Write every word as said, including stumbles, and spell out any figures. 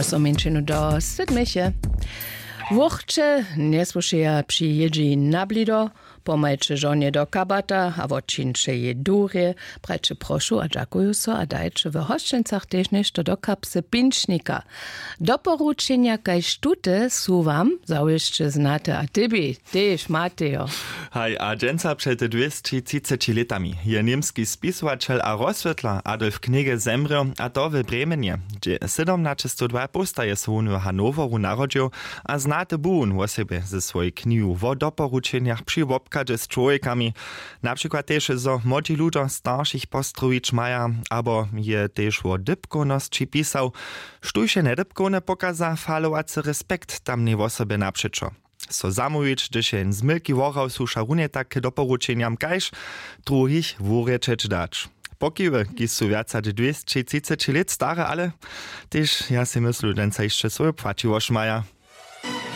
So mjeńšinu do sydmeche. Wurće njesłušeja při jědźi na blido, pomajće žonje do kabata a wotčińće jej durje, prajće prošu a dźakuju so a dajće w hosćencach tež něšto do kapsy pinčnika. Doporučenja kaž tute su wam zawěsće znate a tebi tež matejo. Haj, a dźensa před dwěsći třiceći lětami je němski spisowaćel a rozswětlar Adolf Knigge zemrěł, a to w Bremenje, hdźe sydomnaćestowdwaj postaje so wón w Hannoweru narodźił a znaty bu wón wosebje ze swojej knihu wo doporučenjach při wobchadźe z čłowjekami, na přikład tež zo młodźi ludźo staršich postrowić maja, abo je tež wo dypkownosći pisał. Štóž je njedypkowne, pokaza falowacy respekt tamnej wosobje napřećo. So zamołwić, hdyž je jen z mylki wohrał, słuša runje tak k doporučenjam kaž druhich wurječeć dać. Pokiwy, kiž su wjac hač dwěsći třiceći lět stare, ale tež ja sej myslu, dźensa hišće swoju płaćiwosć maja.